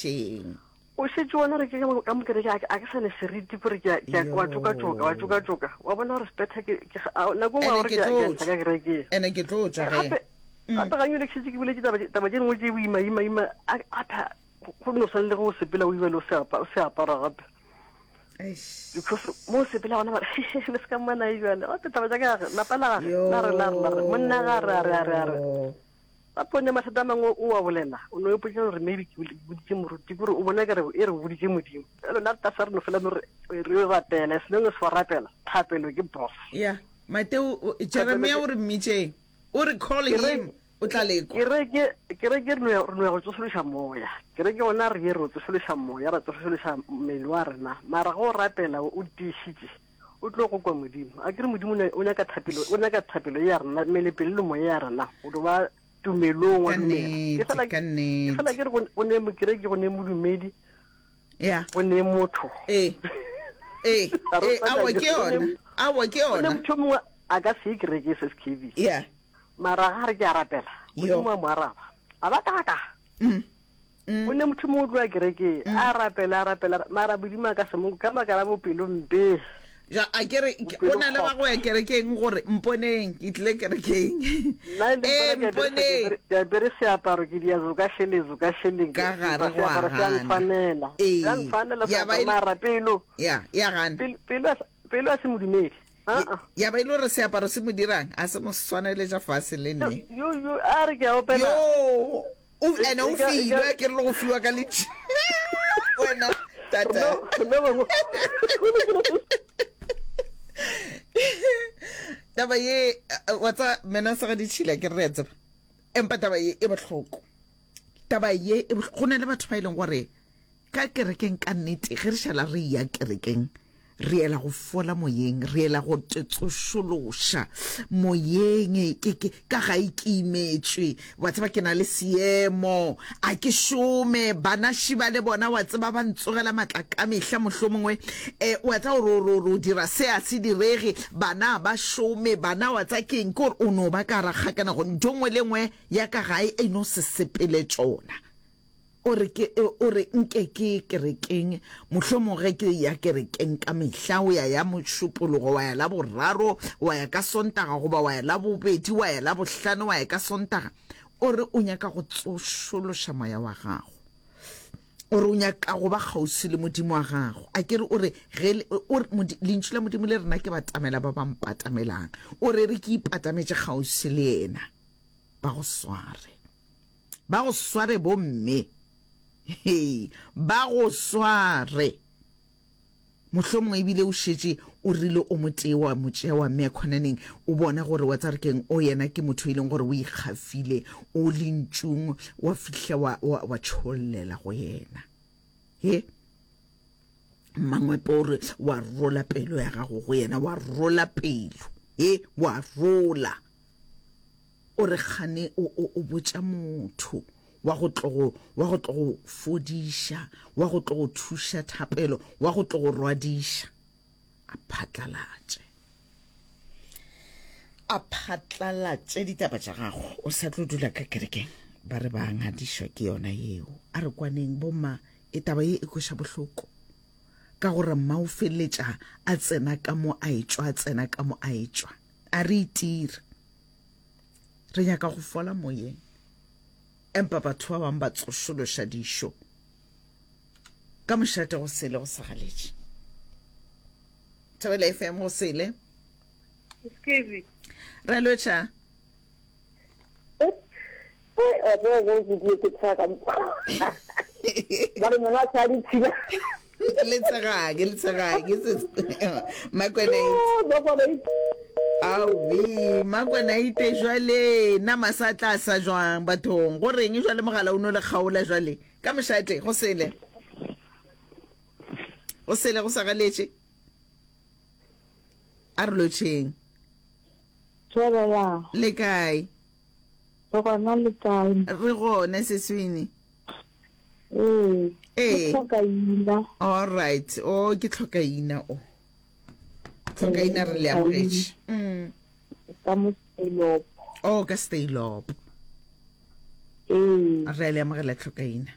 therešeng. O šetše wa no re ke ka mo kereke a ke sa ne seriti gore ke a wa tšokatšoka wa tšokatšoka wa bona gore sepetha ke nako nngwe gore ke a ka kerekeng. Ene ke tlo tšwa ge. Gape gape ga nyole ke šetše ke boletše taba taba tše dingwe tše boima ima ima a tha go no swane le ge o sepela o iba le o se apara gape. Because mo o sepela gona ba re le se ka mmona e jale gape taba tša ka gage lapa la gage la re la re la re monna ga re a re a re a re. Gape o ne mathata a mangwe o a bolela, o no ipotša gore maybe ke boditše moruti, kore o bona kare e re o boditše Modimo. Bjalo nna re re no fela no re re rapela, as long as wa rapela, thapelo ke boss. Ya, Mateo, Jeremia o re mmitšeng, o re call him, o tla lekwa. Kereke, kereke re no ya, re no ya go tsošološa moya. Kereke gona re ye re tsošološa moya, ra tsošološa mmele wa rena. Mara ge o rapela o tiišitše, o tlo go kwa Modimo. A ke re Modimo o nyaka thapelo, o nyaka thapelo ya rena, mmele pelo le moya ya rena, go do ba tumelong wa Ka dumela. Ke nnete, fela ka ke nnete. fela ke re go ne mokereki, go ne modumedi, Ya. go ne motho. Ee. Ee, A re ee, aowa ke go ne yona. Aowa ke go ne yona. motho yo mongwe a ka se ye kereke SSKB. Ya. Mara ga re ke a rapela, Yo. Modimo a mo araba. A ba kaka. Mm. Mm. O ne motho mongwe o tloa kerekeng, a rapela, a rapela, mara Modimo a ka se mo ka baka la bopelompe. Ja, a ke re go na le ba go ya kerekeng gore mponeng ke tlile kerekeng. Nna le Ee, mpona ke apere mponeng. ke apere seaparo ke dia zoka šele zoka šele Ka gare go a seaparo se a gana. ntshwanela. Ee. Se a ntshwanela Ya ba seaparo e le- mara pelo. Ya, ya gana. Pelo pelo a se- pelo a se modumedi. Aa. Ya ba e le gore seaparo se mo dirang a se mo swaneletša fase le nne. Yo yo a re ke a opela. Yo. O ene o filwe ke re le go fiwa ka letši wena tata. Taba ye wa tsa mena sa ga ditšhila ke re re tseba. Empa taba ye e bohloko. Taba ye e go na le batho ba e leng gore Ka kerekeng ka nnete, ge re šala re eya kerekeng, re ela go fola moyeng, re ela go tsošološa moyeng. Ke, ke, ka gae ke imetšwe, wa tseba, ke na le seemo, a ke šome, bana šiba le bona, wa tseba, ba ntsogela matla ka mehla, mohlomongwe, eh, wa tseba, gore, gore, gore o dira se a se direge, bana ba šome, bana, wa tseba keng, ke gore o no ba ka gara kgakanego, ntho nngwe le nngwe ya ka gae e no se sepele tšona. O re, Ke, o re, nke ke ye kerekeng. Mohlomong ge ke eya kerekeng ka mehla, o ya ya Mošupologo, wa ya Laboraro, wa ya ka Sontaga, goba wa ya Labobedi, wa ya Labohlano, wa ya ka Sontaga. O re o nyaka go tsošološa moya wa gago. O re o nyaka go ba kgauswi le Modimo wa gago. A ke re o re, ge, o re, Lentšu la Modimo le rena ke batamela ba ba mpatamelang. O re re ke ipatametše kgauswi le yena, ba go sware. Ba go sware bomme. Hei, ba go sware. Mohlomongwe ebile o šetše o rile o motee wa mo tšea wa mmea khonaneng, o bona gore wa tsare keng, o yena ke motho e leng gore o ikgafile, o lentšung, wa fihla wa, wa, wa tšhollela go yena. He? Mmangwepe o re wa rola pelo ya gago go yena, wa rola pelo. He, wa rola. O re kgane o, o, o botša motho wa go tlo go, wa go tlo go fodiša, wa go tlo go thuša thapelo, wa go tlo go rwadiša. A phatlalatše. A phatlalatše ditaba tša gago. O sa tlo dula ka kerekeng. Ba re ba ngadišwa ke yona yeo. A re kwaneng bomma, e taba ye e kweša bohloko. Ka gore mma o feleletša a tsena ka mo a etšwa, a tsena ka mo a etšwa. A re itire. Re nyaka go fola moyeng. Empa batho ba bangwe ba tsošološa dišo ka mošate go sele go sa galetše. Thobela FM go sele. Excuse. Re lotšha. Letshegake, letshegake, Makwenaite. Aowi, Makwenaite jwale nama sa tla sa jwang bathong? Go reng jwale mogala o no le kgaola jwale? Ka mošate, go sele. Go sele go sa galetše. A re lotšheng. Thobela. Le kae? Re gona le kae? Re gona seswini. Ee. Ee. Ke tlhokaina. All right. Oh, ke tlhokaina o. Tlhokaina re le amogetše. Mm. Ka mo Steilop. Oh, ka Steilop. Ee. Re le amogela tlhokaina.